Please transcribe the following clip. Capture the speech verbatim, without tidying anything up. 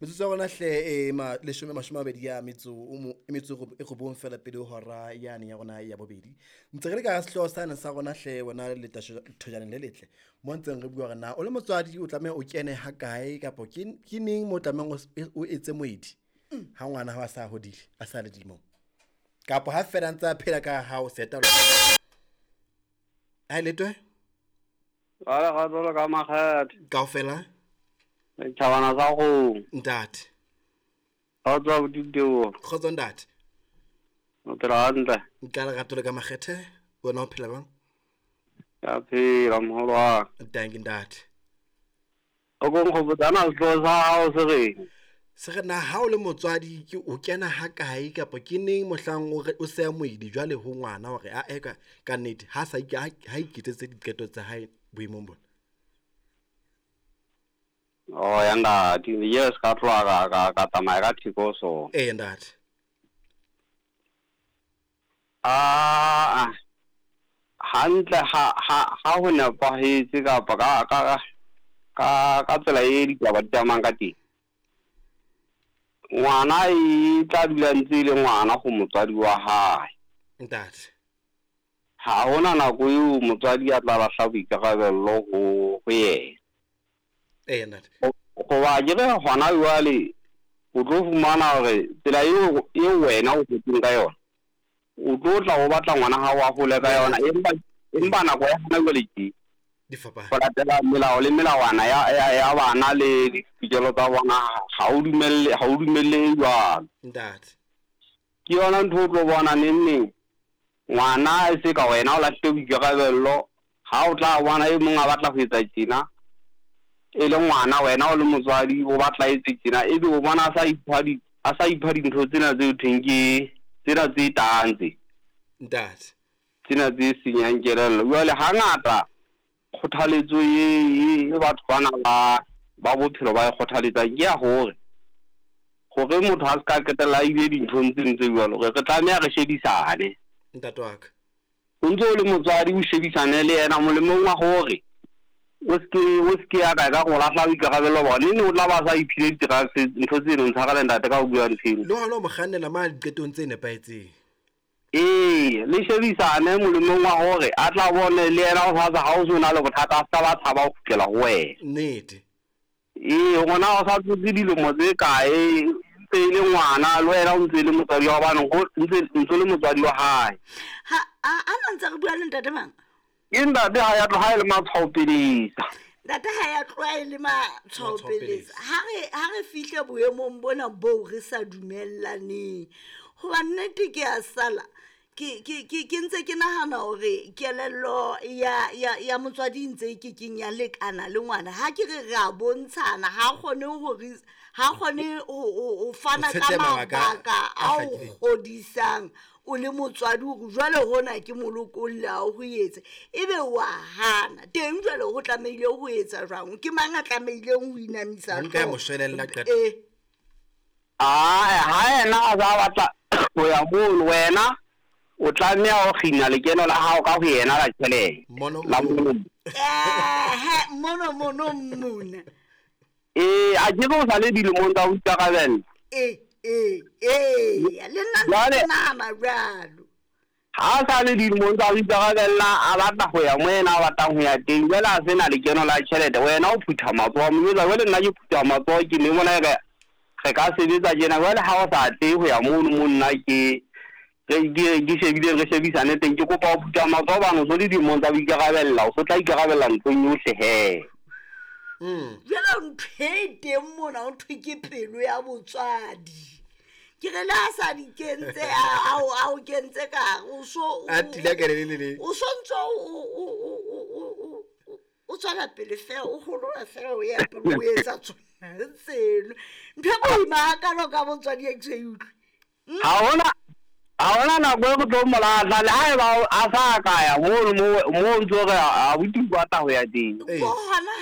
Metsotso ya rona hle e ma leshome mashome a mabedi a metso o mo e metso e robong fela pele ho hora yane ya rona ya bobedi. Ntse re le ka sehlooho sane sa rona hle wena le thojaneng le letle. Mo ntseng re bua hore na o le motswadi o tlameha o kene ha kae kapa ke ke neng mo tlamehang o etse moedi ha ngwana hao a sa hodile, a sa le dilemong. Kapa ha fela a ntse a phela ka hao seta. Ha letwe? Ba ga tsolo ka makgethe. Kaofela? Thabana sa go. Ntate. Ga tswa boditeo. Kgotso ntate. O phela hantle. Nka lerato le ka makgethe, wena o phela jwang? Ka phela moholo wa. Thank you ntate. O go nkgopotsa na sehlooho sa hao se reng? Se re na ha o le motswadi ke o kena ha kae kapa ke neng mohlang o re o seya moedi jwale ho ngwana hore a e ka ka nnete ha sa ha ha iketsetse diqeto tsa hae boemong bona. Oh ya ntate, yes ka tloha ka ka ka tsamaya ka theko so. Eh ntate. Ah hantle ha ha ha ho nepahetse kapa ka ka ka ka tsela e ditaba di tsamayang ka teng. Ngwana e tla dula ntse e le ngwana go motswadi wa hae. Ntate. Ha hona nako eo motswadi a tla lahla boikarabello ho ho yena. Eh ntate. Hoba ke re hona jwale o tlo fumana hore tsela eo eo wena o hotseng ka yona, o tlo tla o batla ngwana hao a hole ka yona, empa empa nako ya hona jwale ke di fapane. Ho latela melao le melawana ya ya ya bana le ditokelo tsa bona ha o dumelle ha o dumelle jwalo. Ntate. Ke yona ntho o tlo bona neng neng ngwana e se ka wena o lahlile boikarabello, ha o tla bona e mong a batla ho etsa tjena e le ngwana wena o le motswadi o batla etse tjena, ebe o bona a sa ipha di a sa ipha dintho tsena tse thweng ke tsena tse tang tse. Ntate. Tsena tse senyang kelello. Jwale hangata kgothaletso e e batho bana ba ba bophelo ba e kgothaletsang ke ya hore hore motho a se ka qetella a ile dinthong tse ntse jwalo, re re tlameha re shebisane. Ntate wa ka. O ntse o le motswadi o shebisane le yena molemong wa hore o se ke o se ke ya ka ka go lahla boikarabelo bona, ne o tla ba sa iphile di-drugs ntho tse ding tshwarela ntate ka ho bua ntho eno. Le hona o mo kgannela ma diqetong tse nepahetseng. Ee, le shebisane molemong wa hore a tla bone le yena o sa ha o se o na le bothata a sa ba tshaba ho kgutlela ho wena. Nnete. Ee, ngwana o sa tsotse dilemo tse kae, ntse e le ngwana le wena o ntse e le motswadi wa hobane ho ntse ntse le motswadi wa hae. Ha a a ntse re bua le ntate mang? Ke ntate ha ya tloha e le matshwao pelesa. Ntate ha ya tloha e le matshwao pelesa. Ha re ha re fihle boemong bona boo re sa dumellaneng. Hoba nnete ke a sala ke ke ke ke ntse ke nahana hore kelello ya ya ya motswadi ntse ke keng ya lekana le ngwana. Ha ke re re a bontshana, ha kgone hore ha kgone ho ho fana ka mabaka a o kgodisang o le motswadi hore jwale hona ke molokolle a ho etse, ebe wa hana teng jwale ho tlamehile ho etsa jwang? Ke mang a tlamehileng ho inamisa Nka mo shwelella qeto. Eh. Ah, ha yena a sa batla ho ya mono, wena o tlameha ho kgina lekeno la hao ka ho yena la tjhelete. Mono La mono. mono. Eh, mono mono mona. Eh, a ke o sa le dilemong tsa ho ikarabella. Eh, eh, eh, le nna Jwale ke nahana jwalo. Ha sa le dilemong tsa ho ikarabella, a batla ho ya mo yena a batlang ho ya teng, jwale a sena lekeno la tjhelete, wena o phutha matsoho, mo jwetsa jwale nna ke phutha matsoho ke ne mona re re ka sebetsa tjena, jwale ha o sa tle ho ya mono mo nna ke re ke ke shebile re shebisane teng, ke kopa ho phutha matsoho hobane o so le dilemong tsa ho ikarabella, o so tla ikarabella nthong yohle hee. Mm. Jwale ntho e teng mona ho thwe ke pelo ya botswadi. Ke re le ha sa di kentse, a, a o, a o kentse ka hare, o so, o, A tila ka le le le. o so ntso o, o, o, o, o, o, o tswela pele fela, o holola fela, o ya pele, o etsa tsona tseno. Ntho e boima hakalo ka botswadi e ke so e utlwe. Ha hona, ha hona nako e re tlo mo lahla, le haeba a sa ka ya mono mo, mo ntso re abuti o batla ho ya teng. Ee. Ko hona